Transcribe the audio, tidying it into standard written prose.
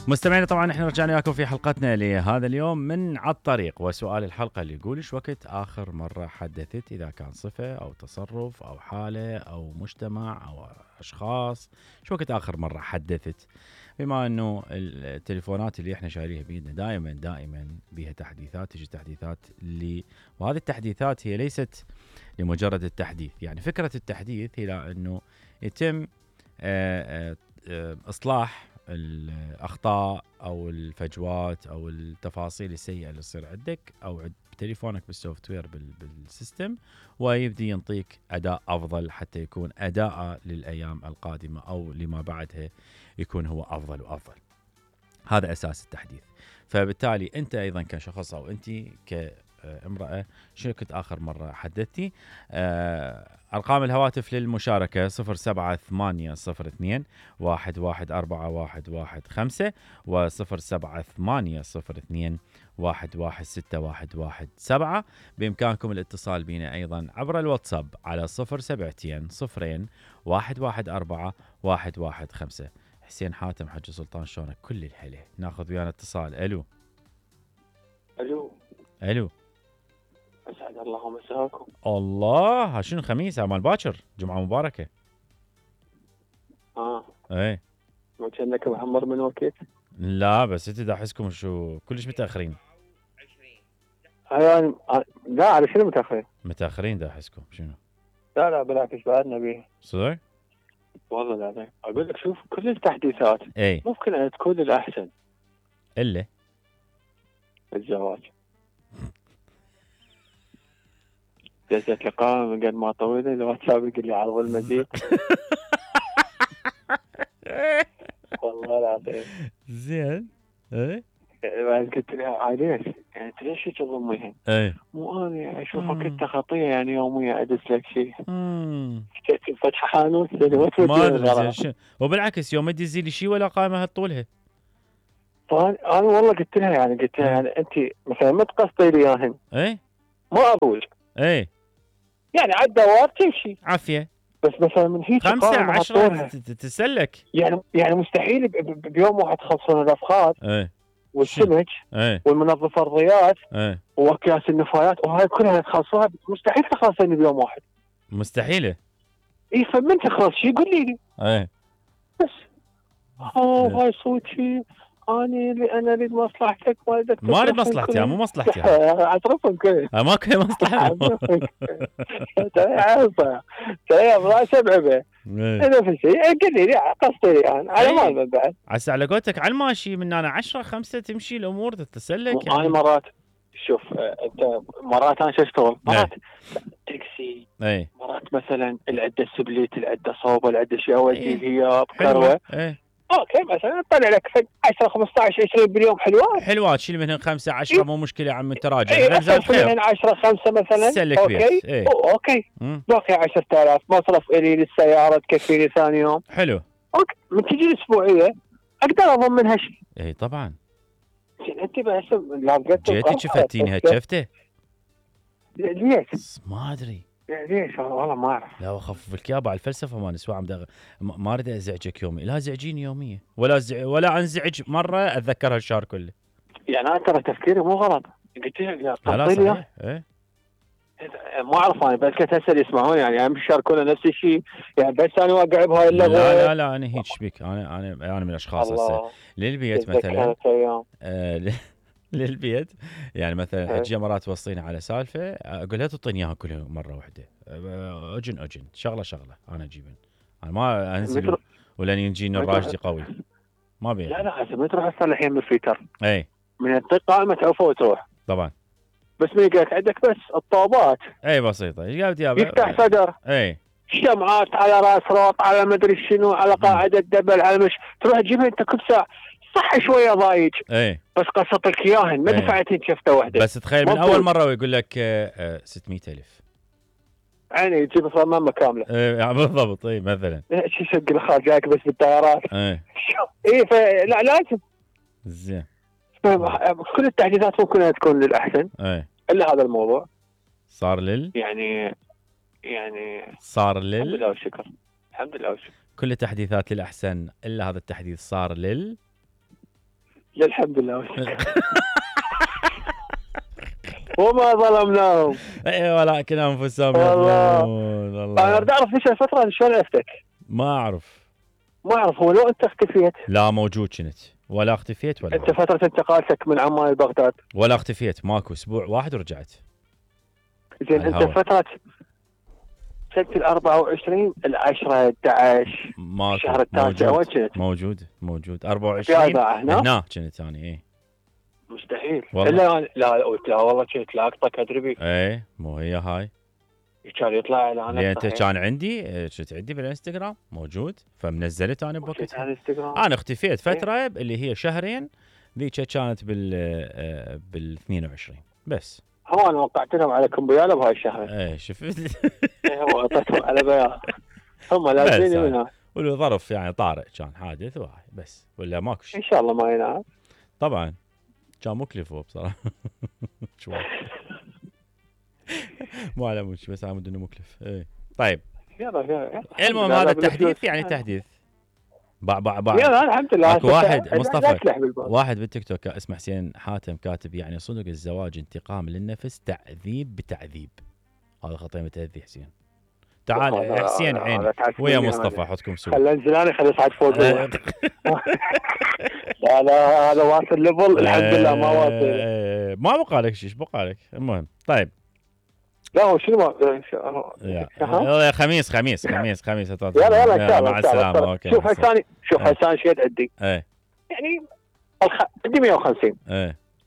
مستمعينا طبعا احنا رجعنا لكم في حلقتنا لهذا اليوم من على الطريق، وسؤال الحلقة اللي يقول ايش وقت آخر مرة حدثت، إذا كان صفة أو تصرف أو حالة أو مجتمع أو أشخاص، ايش وقت آخر مرة حدثت؟ بما أنه التليفونات اللي احنا شايليها بيدنا دائما بيها تحديثات، تجي تحديثات وهذه التحديثات هي ليست لمجرد التحديث، يعني فكرة التحديث هي أنه يتم إصلاح الأخطاء أو الفجوات أو التفاصيل السيئة اللي تصير عندك أو بتليفونك بالسوفت وير بالسيستم، ويبدي ينطيك أداء أفضل حتى يكون أداء للأيام القادمة أو لما بعدها يكون هو أفضل وأفضل. هذا أساس التحديث. فبالتالي أنت أيضا كشخص أو أنت كامرأة شو كنت آخر مرة حدثتي؟ أرقام الهواتف للمشاركة 07802 1141115 و 07802 11617. بإمكانكم الاتصال بنا أيضا عبر الواتساب على 072 114 115. حسين حاتم حج سلطان، شلونك؟ كل الحلو. ناخذ ويانا اتصال. الو اسعد الله مساكم. الله، شنو خميس مال باكر، جمعه مباركه. ايه ما كانك محمر من وقت؟ لا بس انت دا احسكم شو كلش متاخرين. يعني لا، على شنو متاخرين دا احسكم شنو؟ لا بالعكس بعدنا بيه صدق والله العظيم. اقول لك شوف، كل التحديثات ممكن ان تكون الاحسن الا الزواج. دزت لي قائمة من قد ما طويلة، الواتساب يقول لي عرض المزيد. والله العظيم زين. ايه بعد قلت لها ليش؟ يعني ليش تظلميها؟ مو انا اشوفك انت خطيه، يعني يوميا ادز لك شيء. فتح حانوت ما ادري، وبالعكس يوم تدزي لي شيء ولا قائمه هالطولها. انا والله قلت لها يعني انت مثلا ما تقصدي لي اياهن. ما اقول يعني على الدوام تمشي عافيه، بس مثلا من هيك 5-10 تسلك. يعني مستحيل بيوم واحد تخلصون الافخاذ والسمك والمنظف الرياض واكياس النفايات وهاي كلها تخلصوها، مستحيل تخلصين بيوم واحد. مستحيله. فمن تخلص شيء قول لي. بس هاي صوتي انا اريد مصلحتك، ما اريد مصلحتي، مو مصلحتي. اعترفهم كذا ما كان مصلحه. ترى راس بعبه اذا في شيء قل لي قصدي يعني على مال بعد. عسى على قولتك على الماشي من انا 10-5 تمشي الامور تتسلك. يعني انا مرات شوف انت مرات انا شو اشتغل مرات تاكسي، مرات مثلا العده سبليت، العده صوبه، العده شيء اودي هي بكروه. اوكي مثلا طلع لك 10 15 20 باليوم حلوات شيل منهم 5-10 مو مشكله يا عم، انت راجع زاد خير منهم 10-5 مثلا. اوكي باقي 10,000 مصرف الي للسياره تكفيني ثاني يوم. حلو. اوكي من تجي الاسبوعيه اقدر اضمن منها شيء. طبعا. انت بس لقيت جيتي شفتيني هالشفته؟ ليش؟ ما ادري ليش والله ما اعرف. لا اخفف لك يابا على الفلسفه ما نسوى ما اريد ازعجك يومي، لا زعجيني يوميا ولا انزعج مره اتذكر هالشهر كله. يعني انا ترى تفكيري مو غلط، قلت لا صحيح. ما اعرف انا بس كنت اسال يسمعون يعني الشهر كله نفس الشيء يعني، بس انا واقع بهاي اللغه. لا انا هيك بك، انا من الاشخاص هسه للبيت مثلا للبيت يعني مثلا اجي مرات توصيني على سالفه اقول لها تعطيني اياها كلها مره واحده. اجن شغله انا اجيبن، انا ما انزل ولن يجيني الراشدي قوي ما بيه. لا هسه ما تروح تصلحين بالفيتر من الطق قائمه تعوفه وتروح طبعا. بس من يقولك عندك بس الطوبات بسيطه ايش قالت يابا؟ يفتح صدر شمعات على راس روط على مدري شنو على قاعده دبل على مش تروح تجيبها انت كل ساعه صح شويه ضايج بس قصتك اياهن ما دفعتين شفته واحده. بس تخيل من اول مره ويقول لك 600,000 يعني يجيب صمامه كامله. بالضبط. مثلا شو شق الخال جايك بس بالطيارات. فلا لازم زين. كل التحديثات ممكن أن تكون للاحسن الا هذا الموضوع صار يعني صار الحمد لله والشكر. الحمد لله والشكر. كل التحديثات للاحسن الا هذا التحديث صار الحمد لله. وما ظلمناهم. اي ولكن انفسهم يظلمون. انا اريد اعرف ايش الفتره شلون عرفتك؟ ما اعرف هو لو انت اختفيت. لا موجود كنت ولا اختفيت ولا انت فتره انتقالتك من عمان لبغداد ولا اختفيت، ماكو اسبوع واحد ورجعت. زين انت فتره سنه 24 10 11 الشهر التاسع وين كنت؟ موجود 24 هنا كنت انا. اي مستحيل والله. لا والله كنت لاقطك ادري. اي مو هي هاي كان يطلع اعلانات. انت كان عندي كنت عندي بالانستغرام موجود، فمنزلت انا بوقتها. انا اختفيت فتره اللي هي شهرين، ذيك كانت بال 22 بس. هو انا وقعت لهم على كمبياله بهاي الشهر. ايه شفت. هو اعطيتهم على بيان هم لازمين منها. والظرف يعني طارئ كان حادث وهاي بس، ولا ماكو شيء. ان شاء الله ما ينعاد. طبعا كان مكلف هو بصراحه. شو مو على مش بس عمود انه مكلف. ايه طيب المهم هذا التحديث يعني تحديث يلا الحمد لله. اكو واحد مصطفى واحد بالتيك توك اسمه حسين حاتم كاتب يعني صدق الزواج انتقام للنفس تعذيب بتعذيب. هذا خطيمه تهذي حسين. تعال حسين عين ويا مصطفى حطكم سوا. خلينا ننزل انا خلي اصعد فوق. لا هذا واصل ليفل الحمد لله ما واصل. ما بقى لك شيء بقى لك. المهم طيب لا هو شنو يلا خميس يلا ان شاء الله مع السلامه. اوكي شوف هسه شو قد عندي. ايه يعني عندي 150. ايه